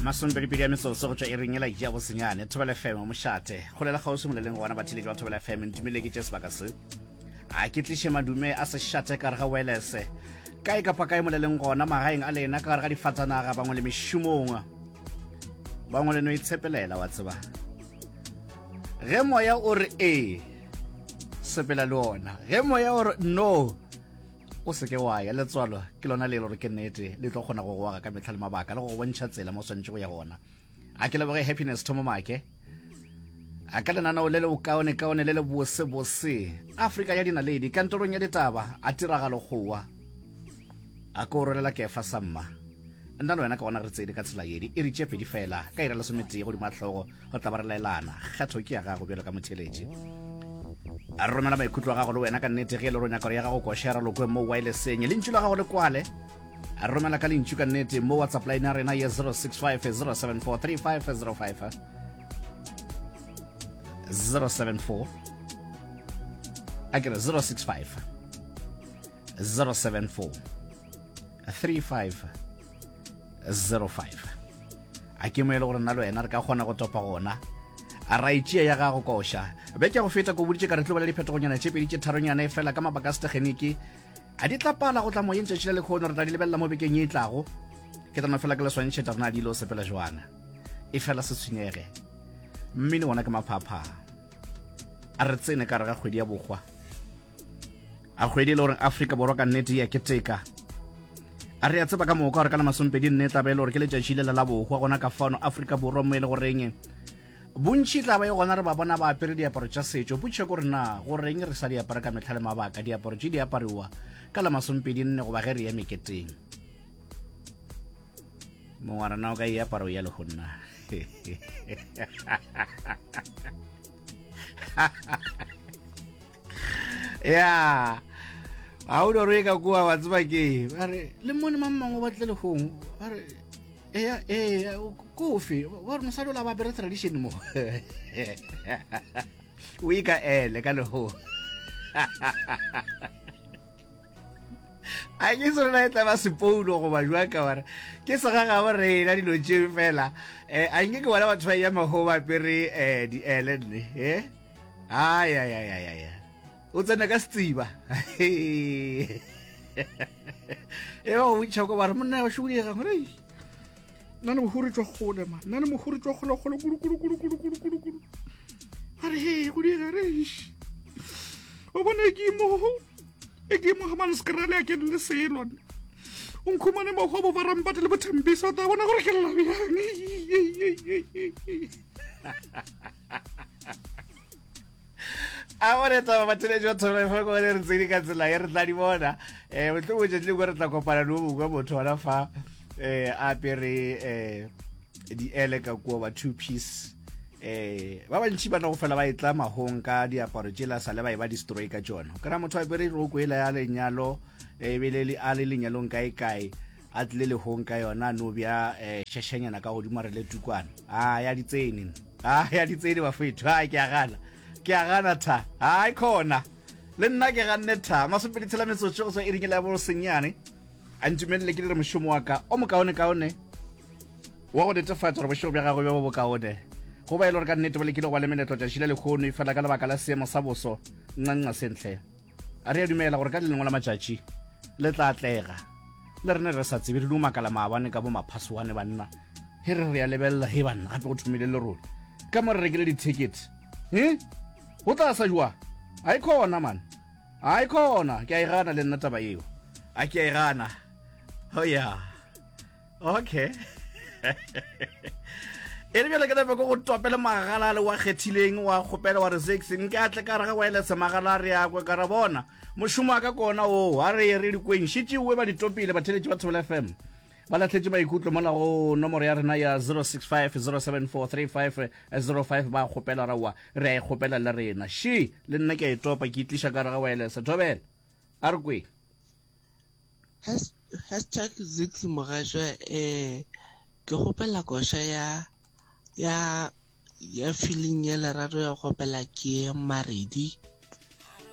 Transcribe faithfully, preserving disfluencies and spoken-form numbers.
Masomepedipedi a metsotso go tšwa iring yela ya bosenyane. Thobela F M, mošate. Golela kgauswi moleleng gona batheeletši ba Thobela F M. Ntumele ke tše sebaka se. A ke tliše madume a sešate ka gare ga wireless. Kae kapa kae moleleng gona, magaeng a lena, ka gare ga difatanaga, bangwe le mešomong. Bangwe le no itshepelela, wa tseba. Ge moya o re ee, sepela le ona. Ge moya o re no, o se ke wa ya. Letswalo ke lona le e le gore ke nnete le tlo kgona go go aga ka mehla le mabaka le go go bontšha tsela mo o swanetše go ya gona. A ke leboge Happiness Thomo Make a ka lenaneo le le bokaonekaone le le bosebose Afrika ya dinaledi kantorong ya ditaba a tiragalo kgowa a ko rolela kefa sa mma. Nna le wena ka gona re tsene ka tsela ye diiri tše pedi fela ka ira lesometee godimo ga hlogo go tla ba re laelana. Kgetho ke ya gago bjalo ka motheeletši. A re romela maikutlo a gago le wena ka nnete ge e le gore o nyaka gore ya gago koša ya ralokwe mo wirelesseng. Lentšu la gago le kwale. A re romela ka lentšu ka nnete mo WhatsApp line ya rena ye zero six five zero seven four three five zero five zero seven four a ke re zero six five zero seven four three five zero five. A ke mo e le gore nna le wena re ka kgona go topa gona a ra itšea ya gago koša. Beke ya go feta ko boditše ka re tlo ba le diphetogonyana tše pedi tše tharonyana, e fela ka mabaka a setegeniki a di tla pala go tla moyeng tšatši le lekgono. Re tla di lebelela mo bekeng ye e tlago. Ke tla no fela ke le swantšhetša rena di lo sepela jwang. E fela se tshwenyege, mmino wona ke maphapha. A re tsene ka re ga kgwedi ya bokgwa, a kgwedi e le gore Afrika Borwa ka nnete ya keteka. A re a tseba ka moka gore ka la masompedi nne tla ba e le gore ke letšatši lela la bohwa gona ka fano Afrika Borwa, mo e le goreng bontši tla ba e gona re ba bona ba apere diaparo tša setšo. Potšišo ke gore na goreng re sa di apara ka mehla le mabaka diaparo tše di apariwa ka la masompedi nne goba ge re ya meketeng? Mongwe wa rena o ka e aparo ya lehonna. Ya ga o doro e ka kua wa tseba ke ba re le mone mang mangwe ba tle lehong ba re eya ee kofe ba re mosadi o la ba apere tradition mo o e ka ele ka lehong. A ke se rena e tla ba sepoulo goba jwang ka gore ke segagabo rena dilo tšeo fela. um a nke ke bona batho ba ya mago ba apere um diele nne e ayayayaya o tsene ka setsiba e ba go bontšha ko ba re monna wa šodiega gore nna le mohuri tswa kgole ma nna le mohuri tswa kgole kgole kudu kudu kudu kudu kudu kudu kudu. A re he go diega re o bone ke mo e ke mo ga skrale a ke le selo o nkhumane mo go bo barampate le bothembisa o tla bona gore ke lla bjang. A bone taba batheletši ba Thobela F M ko re tsene ka tsela ye re tla di bona. um mohlomongwe tšatši lengwe re tla kopana le o mongwe motho gona fa um a apere um diele ka kua ba two piece. um ba bantši ba no go fela ba e tla mahong ka diaparo tšela sa le ba e ba destroy ka tšona. O kry-a motho a apere roko ela ya lenyalo ebile a le lenyalong kae kae a tlile lehong ka yona no bja um šešanyana ka godimo a re le tukwana. A ya ditsene, a ya ditsene bafetho. A ke a gana, ke a gana tha. Ai khona le nna ke ganne tha. Masomepedi tshela metsotso go tswa iring la bosenyane. A ntumelele ke dire mošomo wa ka o mokaonekaone wa go netefatša gore bošego bja gagwe bjo bo bokaone go ba e le gore ka nnete ba lekile go ba le meletlo tšatši le lekgono, e fela ka lebaka la seemo sa boso ncanca sentle. A re a dumela gore ka le lengwe la matšatši le tla atlega. Le rene re sa tsebe re no makala maabane ka bo maphasoane banna he re re ya lebelela he banna gape go thomile lerole ka mo re rekile di-ticket e go tla sa jwa. A e khona man, a e khona. Ke a e gana le nna taba eo, a ke a e gana. Oh yeah, okay. E le bjale ke nape ko go topele magala le wa kgethileng wa kgopela wa re six nke a tle ka re ga wireless magala a re yakwe ka re bona mošomo wa ka kona oo. A re ye re dikweng šetšewe ba di topile batheletši ba Thobela F M ba lahletše maikutlo mola go nomoro ya rena ya zero six five zero seven four three five zero five ba kgopela raowa re a e kgopela le rena še le nna ke a e topa ke itliša ka re ga wireless. Thobela a re kweng. Hashtag Zix Mogašwa, eh ke kgopela koša ya ya ya feeling ya lerato ya go opela ke Maredi.